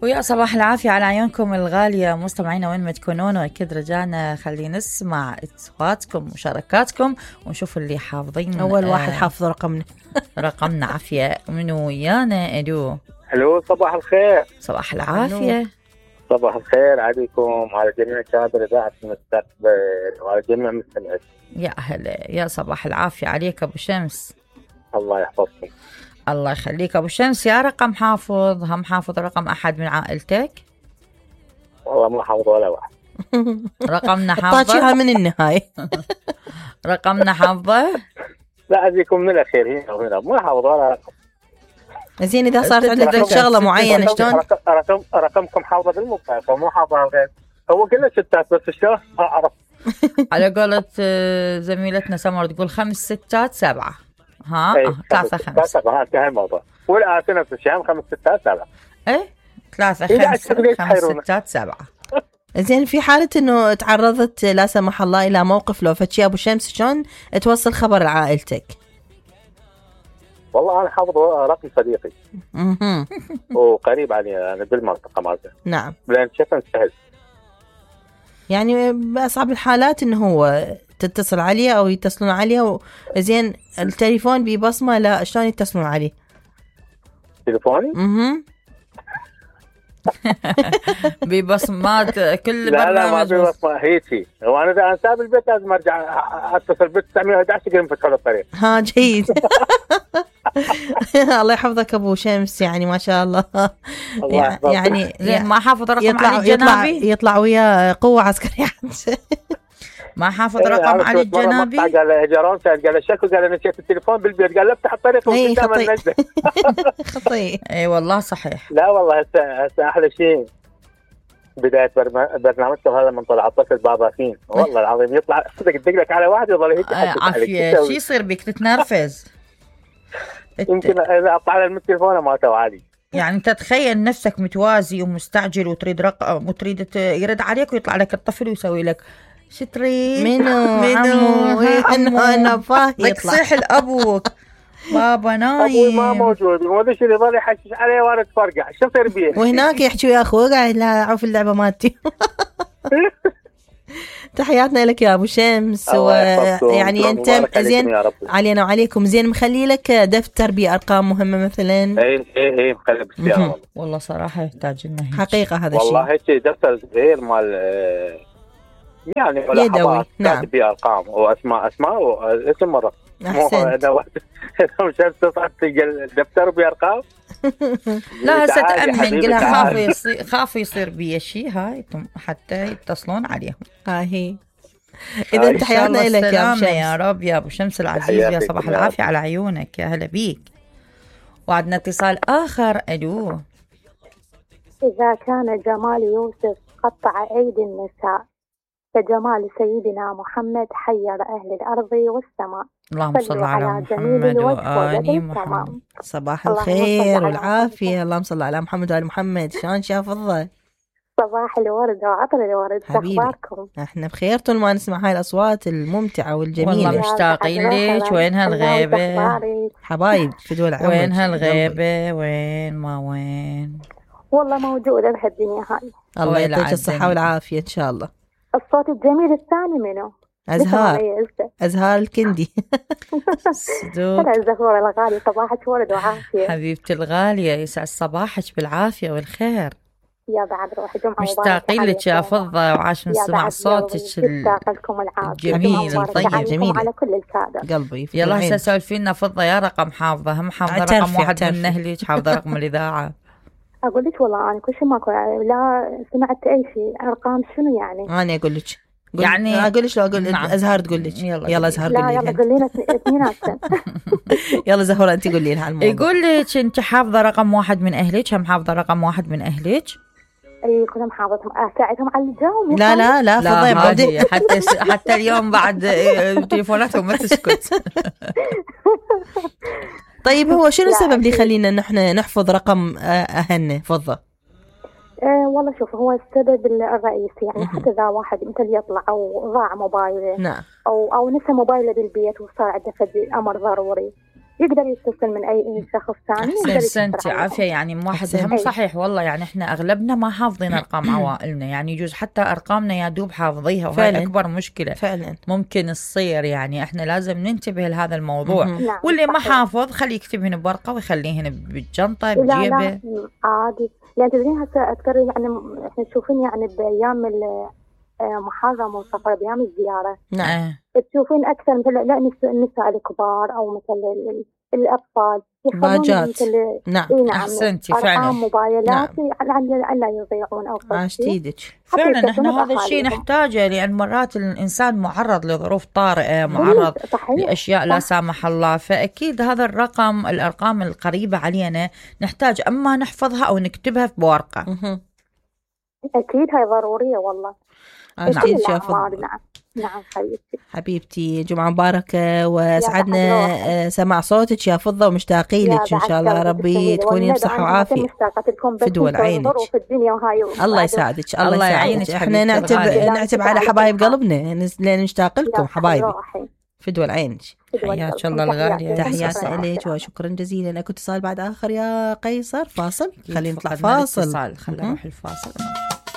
ويا صباح العافية على عيونكم الغالية مستمعينا وين ما تكونون، وأكيد رجعنا خلينا نسمع اتصالاتكم ومشاركاتكم ونشوف اللي حافظين. أول واحد حافظ رقمنا عافية منو ويانا. الو صباح الخير. صباح العافية. صباح الخير عليكم وعلى جميع كادر إذاعة المستقبل وعلى جميع مستمعين. يا أهلا، يا صباح العافية عليك أبو شمس. الله يحفظكم. الله يخليك أبو شمس. يا رقم حافظ، هم حافظ رقم أحد من عائلتك؟ والله ما حافظ ولا واحد. رقمنا حافظة. طاجها من النهاية. رقمنا حافظة. لا أجيكم من الأخير هنا ما حافظ ولا رقم. زين إذا صارت عندك شغلة معينة شلون؟ رقمكم حافظة بالمكان فمو حافظ الغير. هو كله ستات بس شلون ما أعرف. على قولة زميلتنا سمر تقول 5 6 7. ها 3 5. انتهى الموضوع. والآن نفس الشيء 5 6 7. ايه 3 5 6 7. زين في حالة انه تعرضت لا سمح الله الى موقف لو فتشي ابو شمس شلون توصل خبر لعائلتك؟ والله انا حافظ رقم صديقي. وقريب علي انا بالمنطقة مالته. نعم. لان شفن سهل. يعني بأصعب الحالات انه هو تتصل عليه او يتصلون عليه زين التليفون ببصمة لا شلون يتصلون عليه؟ تليفوني؟ ببصمات كل لا برنامج. لا ما ببصمة هيك. هو انا اذا ساب البيت لازم ارجع اتصل ب 911 قبل ما فتحوا الطريق. ها جيد. الله يحفظك ابو شمس يعني ما شاء الله. يعني زين ما حافظ رقم علي الجنابي. يطلع ويا قوة عسكرية. ما حافظ رقم علي الجنابي. قال اجرون قال الشكل قال نسيت التليفون بالبيت قال افتح الطريق وقدام النجدة. خطير. اي والله صحيح. لا والله هسه احلى شيء بداية برنامجكم هذا من طلع الطفل باباكين والله العظيم يطلع صدق لك على واحد يظل هيك. عافية شو يصير بك تتنرفز. يمكن اذا اطلع له التليفون ما توعالي. يعني انت تخيل نفسك متوازي ومستعجل وتريد رقم وتريد يرد عليك ويطلع لك الطفل ويسوي لك شو تريد؟ منو انا فاهم لك صيح لابوك بابا نايم. ابوي ما موجود وما شو يظل يحشش عليه وانا اتفرقع شو يصير بيه. وهناك يحكي ويا اخوه قاعد لا اعرف اللعبه مالتي. تحياتنا لك يا ابو شمس. ويعني انت زين علينا وعليكم زين مخلي لك دفتر بارقام مهمه مثلا. اي مخلي بالسياره. والله صراحه يحتاج لنا حقيقه هذا الشيء والله هيك دفتر صغير مال يعني يدوي. نعم. بارقام واسماء واسم مره. احسنت. مش تصعد الدفتر بارقام. لا هسه تأمن قلها خاف يصير بي شيء هاي حتى يتصلون عليهم. هي اذا تحياتنا لك يا ابو شمس. يا رب يا ابو شمس العزيز. يا صباح العافيه على عيونك. يا هلا بيك. وعندنا اتصال اخر. الو. اذا كان جمال يوسف قطع ايدي النساء فجمال سيدنا محمد حير اهل الارض والسماء. اللهم صل على محمد وآل محمد. صباح الخير والعافية. اللهم صل على محمد وآل محمد. شلون شافظة؟ صباح الورد وعطر الورد. أخباركم؟ احنا بخير طول ما نسمع هاي الأصوات الممتعة والجميلة. والله مشتاقين لك. وين هالغيبة حبايب في دول عمرك؟ وين هالغيبة وين ما وين. والله موجودة بهالدنيا هاي. الله يعطيك الصحة والعافية إن شاء الله. الصوت الجميل الثاني منه؟ أزهار الكندي. ترى الزهورة الغالية. صباحك ورد وعافية حبيبتي الغالية. يسعد صباحك بالعافية والخير. يا بعد روحي جمعة مباركة. مشتاقين لك يا فضة وعاش نسمع صوتك الجميل الطيب. جميل على كل الكادر قلبي. يلا هسه سولفي لنا فضة. يا رقم حافظة هم حافظة رقم واحد من أهلك حافظة رقم الإذاعة. أقول لك والله أنا كل شيء ماكو لا سمعت أي شيء. أرقام شنو يعني؟ أنا أقول لك يعني أقول لك لو أقول نعم. أزهار تقول لك. يلا أزهار قولي. لا يلا قولي لنا اثنيناتنا. يلا زهورة أنت قولي لها الموضوع. يقول لك أنت حافظة رقم واحد من أهلك. هم حافظة رقم واحد من أهلك. اي كلهم حافظهم. اساعدهم على الجو. لا فضي حتى اليوم بعد تليفوناتهم ما تسكت. طيب هو شنو السبب اللي يخلينا نحن نحفظ رقم أهلنا فضة؟ والله شوف هو السبب الرئيسي يعني حتى إذا واحد مثل يطلع أو ضاع موبايله. نعم. أو نسى موبايله بالبيت وصار عنده أمر ضروري يقدر يتصل من أي شخص ثاني. يقدر احسنتي يتصل عليه. عافيه. يعني واحد أحسنت. هم صحيح والله، يعني احنا اغلبنا ما حافظين ارقام عوائلنا، يعني يجوز حتى ارقامنا يا دوب حافظيها، وهي فعلاً. اكبر مشكله فعلا. ممكن تصير. يعني احنا لازم ننتبه لهذا الموضوع. نعم، واللي ما صحيح. حافظ خليه يكتبهن بورقه ويخليهن بالجنطه لا بجيبه. لا عادي. يعني تدرين هسه أذكر يعني احنا تشوفين يعني بأيام محرم وصفر بأيام الزيارة نعم. تشوفين أكثر مثل لا النساء الكبار أو مثل الأطفال يخلون باجات. مثل نعم. نعم أحسنتي فعلا. أرقام موبايلات نعم. على لا يضيعون أو عاشت ايدك. فعلا احنا هذا الشيء نحتاجه، لأن مرات الإنسان معرض لظروف طارئة، معرض لأشياء لا سامح الله. فأكيد هذا الأرقام القريبة علينا نحتاج أما نحفظها أو نكتبها في بورقة. أكيد هاي ضرورية والله. عاشت يا فضل. نعم نعم حبيبتي، جمعة مباركة، وسعدنا سمع صوتك يا فضة، ومشتاقين لك إن شاء الله. ربي تكوني بصحة وعافية في دول عينك. الله يساعدك. الله يساعدك. احنا نعتب على حبايب قلبنا لأن نشتاق لكم حبايبي في دول عينك. حياك الله الغالية. تحياتنا إليك وشكرا جزيلا. أكو اتصال بعد آخر يا قيصر. فاصل، خلينا نطلع فاصل. خلينا نروح الفاصل.